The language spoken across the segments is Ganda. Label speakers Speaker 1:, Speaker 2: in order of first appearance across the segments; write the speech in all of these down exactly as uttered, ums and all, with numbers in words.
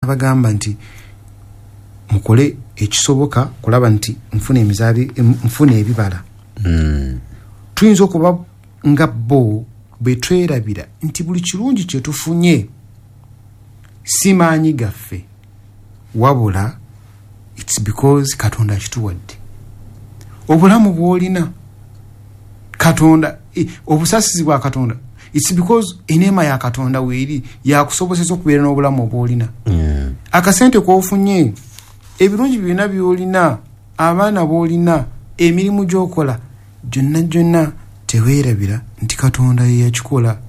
Speaker 1: N'abagamba nti mukole ekisoboka kulaba nti nfuna emizabi nfuna ebibala.
Speaker 2: Mm.
Speaker 1: Tuyinza okuba nga bo bwe twerabira nti buli kirungi kye tufunye si maanyi gaffe, wabula it's because Katonda akituwadde. Obulamu bw'olina Katonda, eh, obusaasizi bwa Katonda, it's because eneema ya Katonda weeri yakusobozesa okubeera n'obulamu obw'olina.
Speaker 2: Mm.
Speaker 1: Akasente k'ofunye, ebirungi byonna by'olina, abaana b'olina, emirimu gy'okola gyonna gyonna, teweerabira nti Katonda ye yakikola.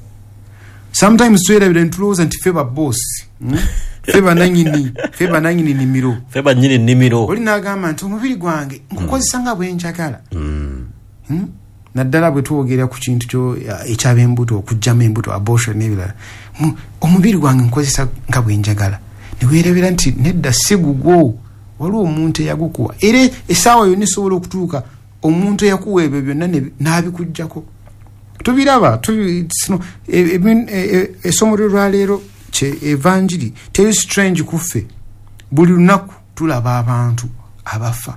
Speaker 1: Sometimes twerabira ntulowooza nti ffe babosi, mm? ffe bananyini, ffe bananyini nnimiro,
Speaker 2: ffe bannyini nnimiro.
Speaker 1: Oli n'agamba nti omubiri gwange nkukozesa nga bwe njagala.
Speaker 2: Mm.
Speaker 1: Hmm? Naddala bwe twogera ku kintu kyo ekyab'embuto, okuggyamu embuto, abortion n'ebirala. Mu- omubiri gwange nkozesa nga bwe njagala, ne weerabira nti nedda, si gugwo, waliwo omuntu eyagukuwa. Era essaawa yonna esobola okutuuka omuntu eyakuwa ebyo byonna ne- n'abikuggyako. Tubiraba tubi- sino- e- e- e- essomo lwaleero kye evanjiri teri strange kuffe. Buli lunaku tulaba abantu abafa,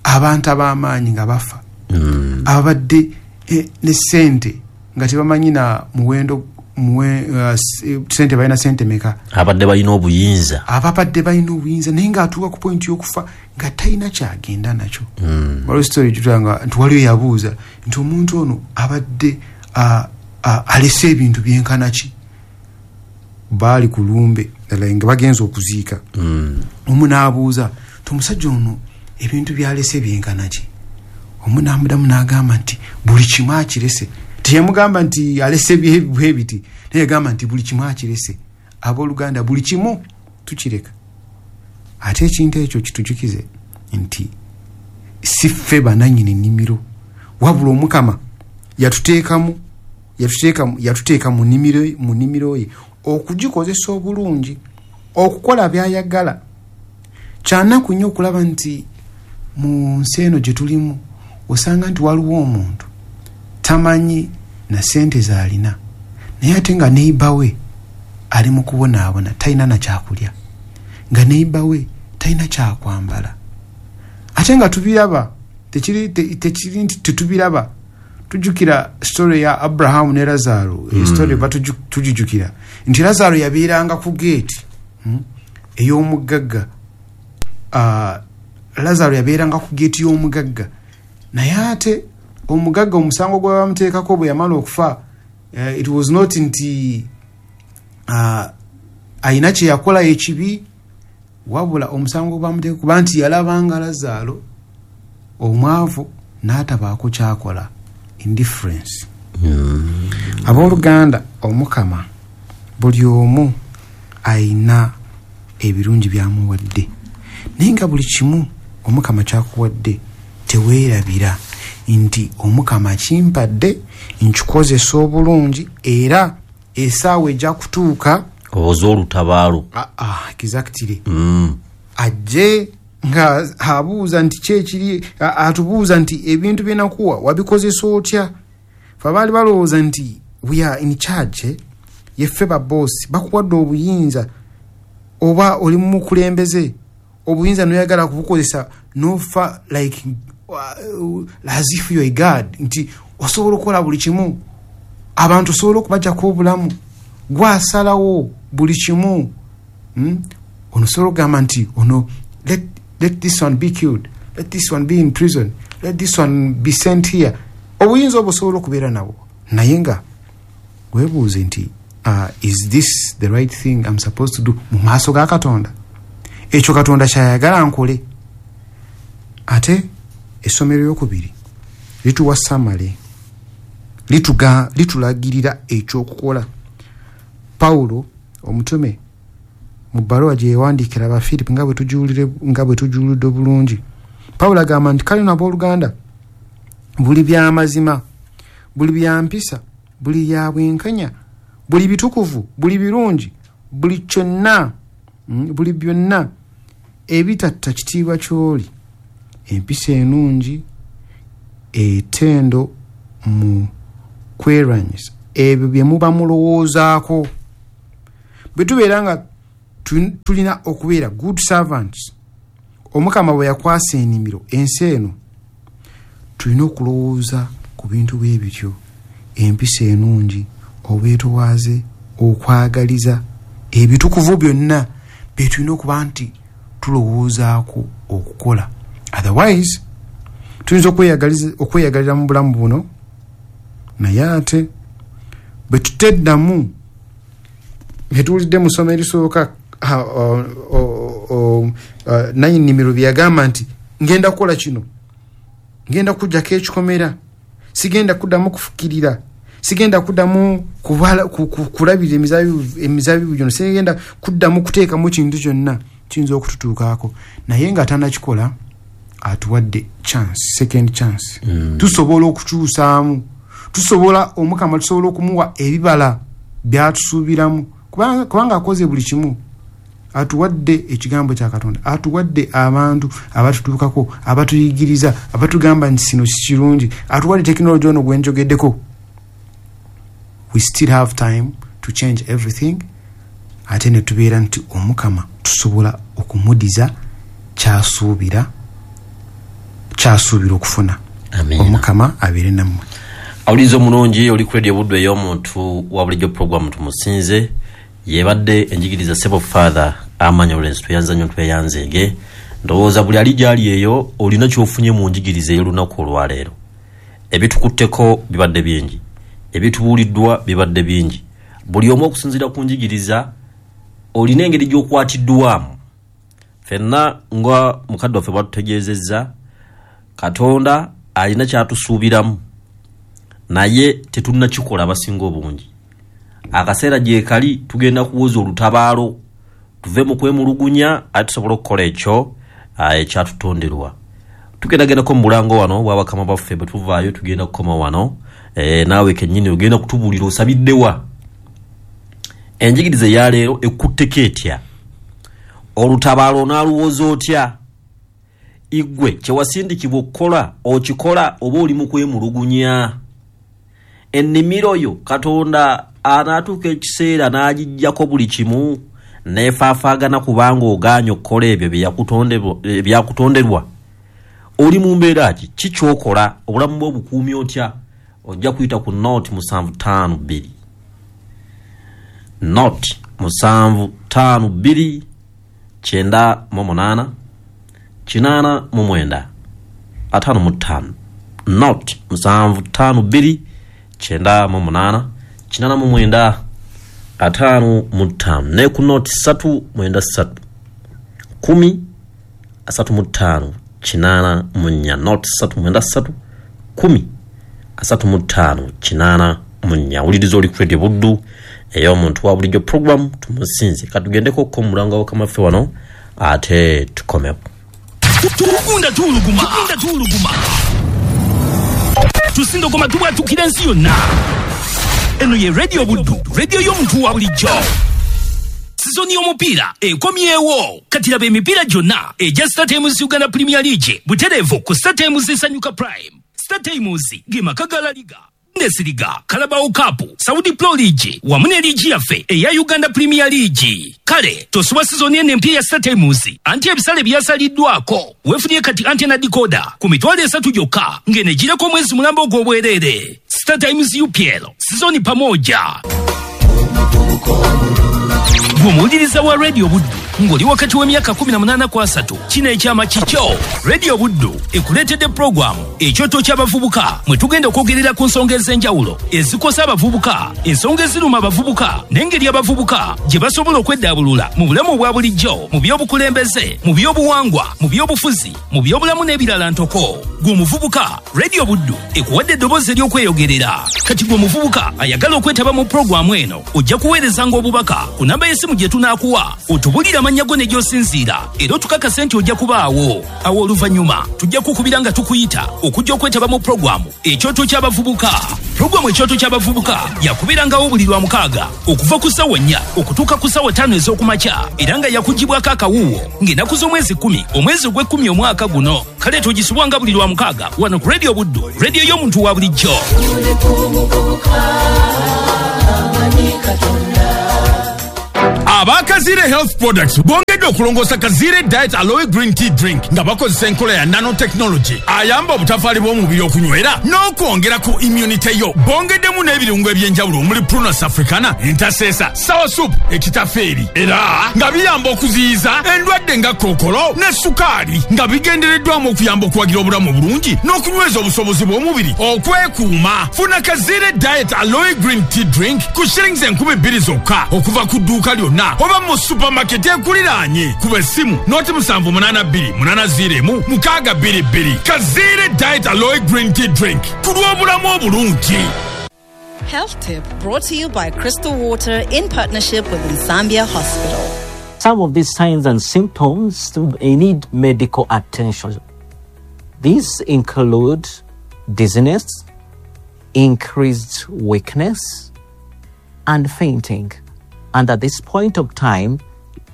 Speaker 1: abantu ab'amaanyi nga bafa,
Speaker 2: Mm.
Speaker 1: abadde eh, ne sente nga tebamanyi na muwendo muwe, uh, s- eh, sente balina sente meka,
Speaker 2: abadde balina obuyinza,
Speaker 1: ababadde balina obuyinza, naye ng'atuuka ku point y'okufa nga talina kyagenda nakyo.
Speaker 2: Mm.
Speaker 1: Waliwo story gitulanga nti waliwo yabuuza nti omuntu ono abadde uh, uh, alese ebintu byenkana ki. Baali ku lumbe ddala nga bagenza okuziika.
Speaker 2: Mm.
Speaker 1: Omu n'abuuza nti omusajja ono ebintu byalese byenkana ki? Omu n'amuddamu n'agamba nti buli kimu akirese. Teyamugamba nti alese bye- bwe biti, naye yagamba nti buli kimu akirese. Abooluganda, buli kimu tukireka. Ate ekintu ekyo kitujukize nti si ffe bananyini nnimiro, wabula Omukama yatuteekamu yatuteeka yatuteeka mu nnimiro mu nnimiro ye okugikozesa obulungi, okukola by'ayagala. Kyanaku nnyo okulaba nti mu nsi eno gye tulimu osanga nti waliwo omuntu tamanyi na sente z'alina, naye ate nga neighbor we ali mu kubonaabona, talina na kyakulya, nga neighbor we talina kyakwambala. Ate nga tubiraba, tekiri te- tekiri nti tetubiraba. Tujjukira story ya Abrahamu ne Lazaro. mm. Story tugijjukira nti Lazaro yabeeranga ku geeti mm, ey'omugagga. uh, Lazaro yabeeranga ku geeti y'omugagga, naye ate omugagga omusango gwe bamuteekako bwe yamala okufa, uh, it was not nti uh, ayina kye yakola ekibi, wabula omusango gwe bamuteeka kuba nti yalabanga Lazaro omwavu n'atabaako kyakola, indifference.
Speaker 2: Mm.
Speaker 1: Abooluganda, Omukama buli omu ayina ebirungi byamuwadde, naye nga buli kimu Omukama kyakuwadde teweerabira nti Omukama kimpadde nkikozesa obulungi, era essaawa ejja kutuuka
Speaker 2: owoza olutabaalo.
Speaker 1: Ah, ah, exactly.
Speaker 2: Mm.
Speaker 1: Ajje nga abuuza nti kyekiri, atubuuza nti ebintu byenakuwa wabikozesa otya? Fe abaali balowooza nti we are in charge, eh? Yeffe baboosi, bakuwadde obuyinza oba oli mukulembeze, obuyinza noyagala kubukozesa nofa like uh, as if you are a god, nti osobola okukola buli kimu, abantu osobola okubajjako obulamu, gwasalawo buli kimu, hmm? Ono osobola okugamba nti ono let, let this one be killed, let this one be in prison, let this one be sent here. Obuyinza obwo osobola okubeera nabwo, naye nga weebuuze nti uh, is this the right thing I'm supposed to do mu maaso ga Katonda? Ekyo Katonda kyayagala nkole? Ate essomero lyokubiri lituwa summary, lituga litulagirira ekyokukola. Pawulo omutume mu bbaluwa gye yawandiikira Abafiripi, nga bwe tujuulire- nga bwe tujuulidde obulungi, Pawulo agamba nti kale nabooluganda, buli byamazima, buli byampisa, buli bya bwenkanya, buli bitukuvu, buli birungi, buli kyonna, mm, buli byonna ebitatta kitiibwa ky'oli, empisa ennungi, etendo mu kwerwanyisa, ebyo bye muba mulowoozaako. Bwe tubeera nga Tulina okubeera good servants. Omukama bwe yakwasa ennimiro ensi eno, tulina okulowooza ku bintu bwe bityo, empisa ennungi, obwetowaaze, okwagaliza, ebitukuvu byonna bye tulina okuba nti tulowoozaako okukola. Otherwise tuyinza okweyagalira mu bulamu buno, naye ate bwe tuteddamu bye tuwulidde mu ssomo erisooka, nanyini bye yagamba nti ngenda kukola kino, ngenda kujjako ekikomera, sigenda kuddamu kufukirira, sigenda kuddamu kulabirira emizabibu gino, sigenda kuddamu kuteekamu kintu kyonna kiyinza okututuukaako. Naye nga tannakikola atuwadde chance, second chance. mm. Tusobola okukyusaamu, tusobola Omukama tusobola okumuwa ebibala byatusuubiramu, kubanga akoze buli kimu. Atuwadde ekigambo kya Katonda, atuwadde abantu abatutuukako, abatuyigiriza, abatugamba nti sino si kirungi, atuwadde tekinologi ono gwenjogeddeko. We still have time to change everything, ate ne tubeera nti Omukama tusobola okumudiza kyasuubira kyasuubira okufuna. Omukama abeere nammwe.
Speaker 2: Awuliriza omulungi, oli ku Radio Buddu ey'omuntu wa bulijjo, programu Tumusinze, yebadde enjigiriza sebo Father Amanya Lawrence. Tweyanza nnyo, tweyanzeege. Ndowooza buli ali gyali eyo olina kyofunye mu njigiriza ey'olunaku olwaleero. Ebitukutteko bibadde bingi, ebitubuuliddwa bibadde bingi. Buli omu okusinziira ku njigiriza olina engeri gy'okwatiddwamu. Ffenna nga mukadde waffe bwatutegeezezza, Katonda alina kyatusuubiramu, naye tetunnakikola abasinga obungi. Akaseera gye kali tugenda kuwoza olutabaalo, tuve mu kwemulugunya, ate tusobole okukola ekyo ekyatutonderwa. Tugendagendako mu bulango wano bwabakama baffe, bwe tuvaayo tugenda kukoma wano. e, naawe kennyini ogenda kutubuulira osabiddewa, enjigiriza eyaleero ekutteko etya, olutabaalo onaaluwoza otya, igwe kyewasindikibwa okukola okikola oba oli mu kwemulugunya. Ennimiro yo Katonda anaatuuka ekiseera n'agijjako buli kimu neefaafaagana kubanga ogaanye okukola ebyo byakutonderwa. Oli mu mbeera ki? Ki kyokola? Obulamu bwo obukuumi otya? Ojja kuyita ku nought musanvu ttaano bbiri nought musanvu ttaano bbiri kyenda mu munaana kinaana mu mwenda ataano mu ttaano, nought musanvu ttaano bbiri kyenda mu munaana kinaana mu mwenda ataano mu ttaano, ne ku nought ssatu mwenda ssatu kumi asatu mu ttaano kinaana mu nnya, nought ssatu mwenda ssatu kumi asatu mu ttaano kinaana mu nnya. Wuliriza, oli ku Radio Buddu ey'omuntu wa bulijjo, program Tumusinze. Katugendeko ko mu mulango w'Abakama wano ate tukomewo.
Speaker 3: Tugunda tuwuluguma, tugunda tuwuluguma, tusindogoma, tubwatukira ensi yonna. Eno ye Radio Buddu, radio y'omuntu wa bulijjo. Sizoni y'omupiira ekomyewo. Kati laba emipiira gyonna egya StarTimes Uganda Premier League butereevu ku StarTimes Sanyuka Prime. StarTimes ge maka ga La Liga, Bundesliga, Carabao Cup, Saudi Pro League wamu ne liigi yaffe eya Uganda Premier League. Kale tosubwa sizoni eno empya ya StarTimes, anti ebisale byasaliddwako. Weefunye kati antenna decoder ku mitwalo esatu gyokka ng'enegireko omwezi mulamba ogw'obwereere. StarTimes U P L sizoni pamoja. Gwe omuwuliriza wa Radio Buddu ng'oli wakati w'emyaka kkumi na munaana ku asatu, kino ekyama kikyo. Radio Buddu ekuleetedde puroguramu Ekyoto ky'Abavubuka, mwe tugenda okwogerera ku nsonga ez'enjawulo ezikosa abavubuka, ensonga eziruma abavubuka n'engeri abavubuka gye basobola okweddaabulula mu bulamu obwa bulijjo, mu by'obukulembeze, mu by'obuwangwa, mu by'obufuzi, mu by'obulamu n'ebirala ntoko. Gwe omuvubuka, Radio Buddu ekuwadde eddoboozi ery'okweyogerera. Kati gwe omuvubuka ayagala okwetaba mu puroguramu eno, ojja kuweerezanga obubaka ku namba y'essimu gye tunaakuwa, otubulire amannya go ne gy'osinziira, era otukakase nti ojja kubaawo. Awo oluvannyuma tujja kukubira nga tukuyita okujja okwetaba mu puroguramu Ekyoto ky'Abavubuka. Puroguramu Ekyoto ky'Abavubuka yakubeerangawo buli lwa mukaaga okuva ku ssaawa nnya okutuuka ku ssaawa ttaano ez'okumakya, era nga yakugibwako akawuuwo ng'ennaku z'omwezi kkumi omwezi ogw'ekkumi omwaka guno. Kale togisubwanga buli lwa mukaaga wano ku Radio Buddu, radio y'omuntu wa bulijjo.
Speaker 4: Aba Kazire Health Products bongedde okulongoosa Kazire Diet Aloe Green Tea Drink nga bakozesa enkola ya nanotechnology ayamba obutafaali bw'omubiri okunywera n'okwongera ku immunity yo. Bongeddemu n'ebirungo eby'enjawulo omuli Prunus africana, entaseesa, soursop, ekitafeeri, era nga biyamba okuziyiza endwadde nga kookolo ne sukaali, nga bigendereddwamu okuyamba okuwagira obulamu obulungi n'okunyweza obusobozi bw'omubiri okwekuuma. Funa Kazire Diet Aloe Green Tea Drink ku shillings enkumi bbiri zokka okuva ku dduuka lyonna oba mu supermarket ekuliraanye. Kuba essimu noti musanvu munaana bbiri munaana ziro emu mukaaga bbiri bbiri. Kazire Diet Aloe Green Tea Drink ku lw'obulamu obulungi.
Speaker 5: Health Tip brought to you by Crystal Water in partnership with Nsambya Hospital.
Speaker 6: Some of these signs and symptoms need medical attention. These include dizziness, increased weakness, and fainting. And at this point of time,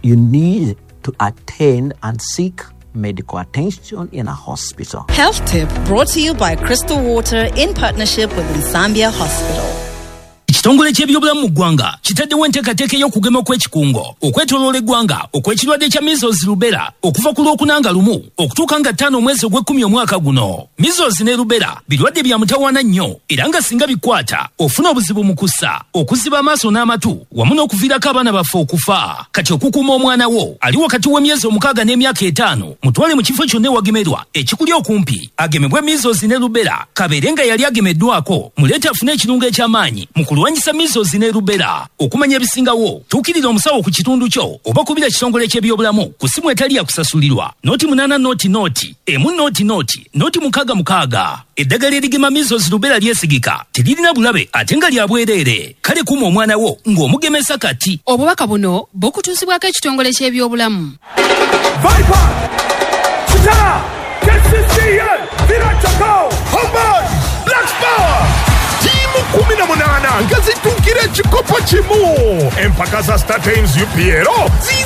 Speaker 6: you need to attend and seek medical attention in a hospital.
Speaker 5: Health Tip brought to you by Crystal Water in partnership with Nsambya Hospital.
Speaker 3: Ekitongole ky'ebyobulamu mu ggwanga kitaddewo enteekateeka ey'okugema kw'ekikungo okwetooloola eggwanga okw'ekirwadde kya measles, rubella okuva ku Lwokuna nga lumu okutuuka nga ttaano omwezi ogw'ekkumi omwaka guno. Measles ne rubella birwadde bya mutawaana nnyo, era nga singa bikwata ofuna obuzibu mu kussa, okuziba amaaso n'amatu, wamu n'okuviirako abaana baffe okufa. Kati okukuuma omwana wo ali wakati w'emyezi omukaaga n'emyaka etaano, mutwale mu kifo kyonna ewagemerwa ekikuli okumpi agemebwe measles ne rubella, kabeere nga yali agemeddwako, muleete afune ekirungo eky'amaanyi mu kulwanyisa measles ne rubella. Okumanya ebisingawo, tuukirira omusawo ku kitundu kyo oba kubira kitongole ky'ebyobulamu ku simu etali ya kusasulirwa noti munaana noti noti emu noti noti noti mukaaga mukaaga. Eddagala erigema measles, rubella lyesigika, teririna bulabe ate nga lya bwereere. Kale kuuma omwana wo ng'omugemesa kati.
Speaker 7: Obubaka buno bukutuusibwako ekitongole ky'ebyobulamu.
Speaker 8: Viper, Kitara, K C C A, Villa Chakao, Homeboy, Black Power.
Speaker 9: Ttiimu kumi na munaana nga zituukira ekikopo kimu. Empaka za StarTimes U P L ziizi.